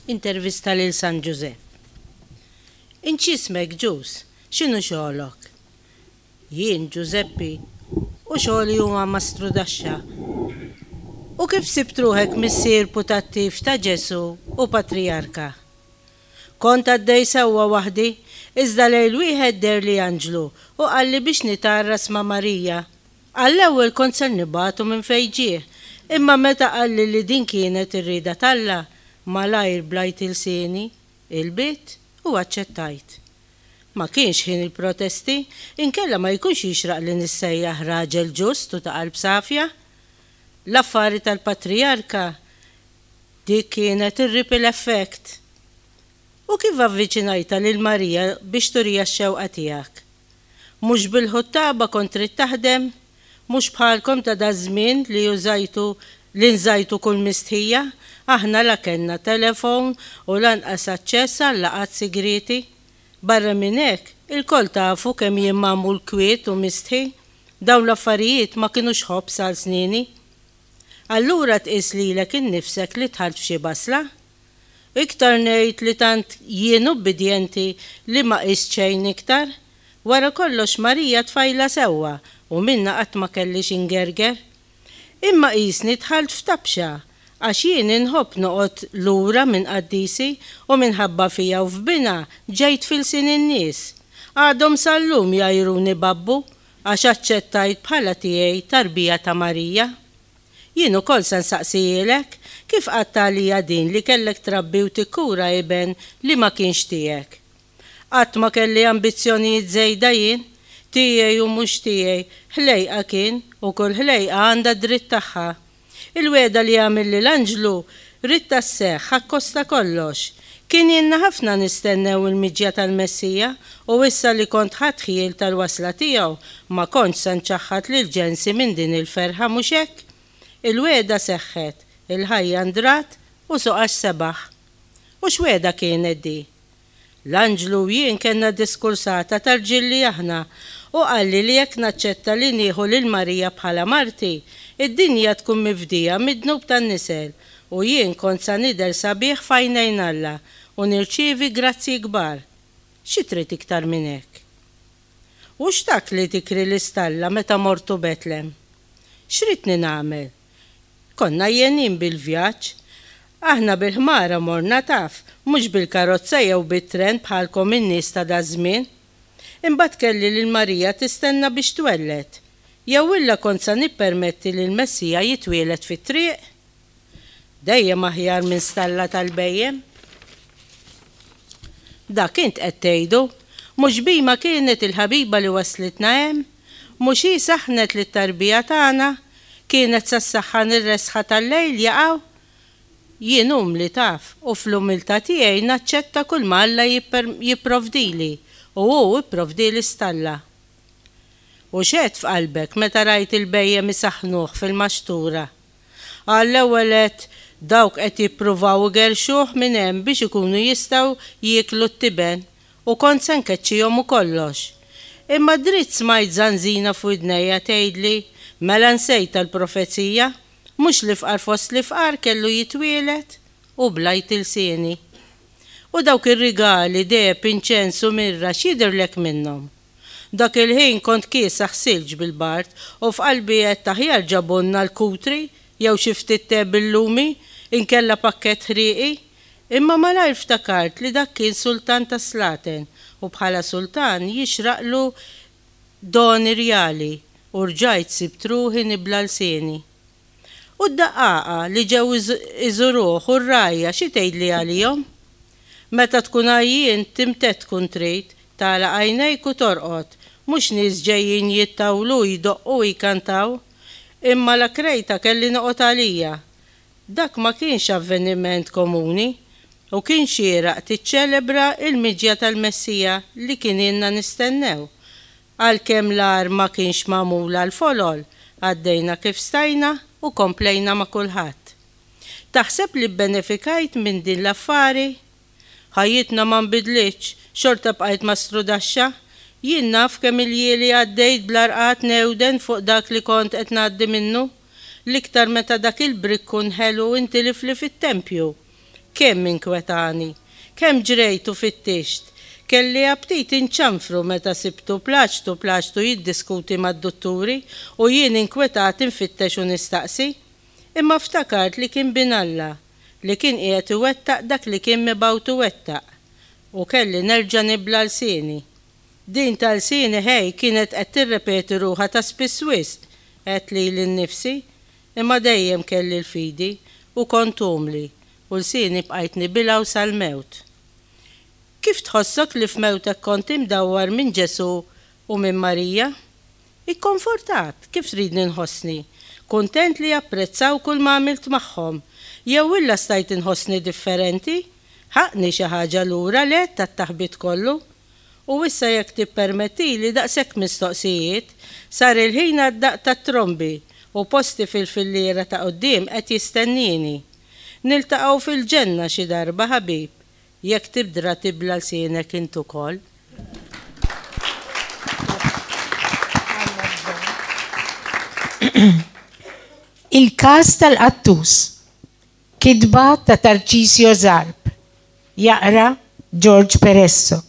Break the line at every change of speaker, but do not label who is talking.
Intervista lil San Ġużepp. Int x'ismek Ġuż? X'inhu xogħlok? Jien Ġużeppi u xogħli huwa mastrudaxxa. U kif sibt ruħek missier putattiv ta' Ġesù u patrijarka? Kont għaddej sewwa waħdi, iżda lejl wieħed deherli anġlu u qalli biex nitgħarras ma' Marija. Għall-ewwel kont ser nibagħtu minn fejn ġie, imma meta qalli li din kienet ir-rieda t'Alla, malajr blajt ilsieni, il-bit, u aċċettajt. Ma kienx ħin il-protesti, inkella ma jkunx jixraq li nissejjaħ raġel ġust u ta' qalb safja. L-affari tal-patrijarka, dik kienet ir-ripple effect. U kif avviċinajtha lil Marija biex turiha x-xewqa tiegħek? Mhux bil-ħuttaba kont trid taħdem? Mhux bħalkom ta' daż-żmien li użajtu li nżajtu kull mistħija, aħna la kellna telefon u lanqas aċċess għal laqgħat sigrieti. Barra minn hekk, ilkoll tafu kemm jien magħmul kwiet u mistħi. Dawn l-affarijiet ma kinux ħobż għal snieni. Allura tqis lilek innifsek li dħalt f'xi basla? Iktar ngħid li tant jien ubbidjenti li ma qist xejn iktar. Wara kollox Marija tfajla sewwa u minnha qatt ma kelli xi ngerger. Imma qisni dħalt f'tabxa għax jien inħobb noqgħod lura minn qaddisi u minħabba fija u f'binha ġejt f'ilsien in-nies. Għadhom sal-lum jgħajruni babbu għax aċċettajt bħala tiegħi tarbija ta' Marija. Jien ukoll se nsaqsihielek, kif qgħadt għalija din li kellek trabbi u tikkura iben li ma kienx tiegħek? Qatt ma kelli ambizzjonijiet żejda jien, tiegħi u mhux tiegħi, ħlejqa kien u kull ħlejqa għandha d-dritt tagħha. Il-wegħda li għamilli l-anġlu ridtha sseħħ akkost ta' kollox. Kien ilna ħafna nistennew il-miġja tal-Messija u issa li kont ħadt ħjiel tal-wasla tiegħu, ma kontx se nċaħħad lil ġensi minn din il-ferħa, mhux hekk? Il-wegħda seħħet, il-ħajja ndrat u suqax sebaħ. U x'wegħda kienet di? L-anġlu u jien kellna diskursata ta' rġiel li aħna, u qalli li jekk naċċetta li nieħu lil Marija bħala marti, id-dinja tkun mifdija mid-dnub tan-nisel, u jien kont sa nidher sabiħ f'għajnejn Alla u nirċievi grazzji kbar. Xi trid iktar minn hekk? U x'tak li tikri l-istalla meta mortu Betlem? X'ridtni nagħmel? Konna għajjenin bil-vjaġġ. Aħna bil-ħmara morna taf, mhux bil-karozza jew bit-tren bħalkom in-nies ta' daż-żmien. Imbagħad kelli lil Marija tistenna biex twelled. Jew illa kont sa nippermetti li l-Messija jitwieled fit-triq? Dejjem aħjar minn stalla tal-bhejjem. Dak int qed tgħidu. Mhux bhima kienet il-ħabiba li wasslitna hemm? Mhux hi saħħnet lit-tarbija tagħna? Kienet sa ssaħħan ir-resħa tal-lejl jaqaw? Jien umli taf, u fl-umiltà tiegħi naċċetta kulma Alla jipprovdili, u hu pprovdieli stalla. U x'għedt f'qalbek meta rajt il-bhejjem isaħħnuh fil-maxtura? Għall-ewwel għedt, dawk qed jippruvaw igerrxuh minn hemm biex ikunu jistgħu jieklu t-tiben, u kont se nkeċċihom u kollox. Imma dritt smajt żanżina f'widnejja tgħidli, Mela nsejtha l-profezija, mhux l-ifqar fost l-ifqar kellu jitwieled? U blajt ilsieni. U dawk ir-rigali, deheb, inċens u mirra x'jidhirlek minnhom? Dak il-ħin kont kiesaħ silġ bil-bard u f'qalbi għedt aħjar ġabulna l-kutri jew xi ftit te bil-lumi inkella pakkett ħrieqi. Imma malajr ftakart li dak kien sultan tas-slaten u bħala sultan jixraqlu doni rjali u rġajt sibt ruħi nibla' lsieni. U d-daqqaqa li ġew iżuruh u r-rgħajja xi tgħidli għalihom? Meta tkun għajjien timtedd tkun trid, tagħlaq għajnejk u torqod, mhux nies ġejjin jittawlu, jdoqqu u jkantaw. Imma la krejtha kelli noqgħod għalija. Dak ma kienx avveniment komuni u kien xieraq tiċċelebra l-miġja tal-Messija li kien ilna nistennew. Għalkemm l-għar ma kienx magħmul għall-folol, għaddejna kif stajna u komplejna ma' kulħadd. Taħseb li bbenefikajt minn din l-affari? Ħajjitna ma nbidlitx, xorta bqajt mastrudaxxa. Jien naf kemm iljieli għaddejt bla rqad nhewden fuq dak li kont qed ngħaddi minnu. L-iktar meta dak il-brikkun ħelu intilifli fit-tempju. Kemm inkwetani! Kemm ġrejt u fittixt! Kelli aptit inċanfru meta sibtu plaċtu plaċtu jiddiskuti mad-dutturi u jien inkwetat infittex u nistaqsi. Imma ftakart li kien Bin Alla, li kien qiegħed iwettaq dak li kien mibgħut iwettaq. U kelli nerġa' nibla' lsieni. Din ta' lsieni ħej kienet qed tirrepeti ruħha ta' spiss wisq, għedt lili nnifsi. Imma dejjem kelli l-fidi, u kont umli, u lsieni bqajt nibilgħu sal-mewt. Kif tħossok li f'mewtek kont imdawwar minn Ġesù u minn Marija? Ikkonfortat, kif tridni nħossni? Kuntent li japprezzaw kull ma għamilt magħhom. Jew illa stajt inħossni differenti? Ħaqqni xi ħaġa lura le tat-taħbit kollu? U issa jekk tippermettili daqshekk mistoqsijiet, sar il-ħin għad-daqq tat-trombi u posti fil-filliera ta' quddiem qed jistennieni. Niltaqgħu fil-ġenna xi darba ħabib, jekk tibdra tibla' lsienek int ukoll.
Il-każ tal-qattus. Kitba ta' Tarcisio Zarb. Jaqra George Peresso.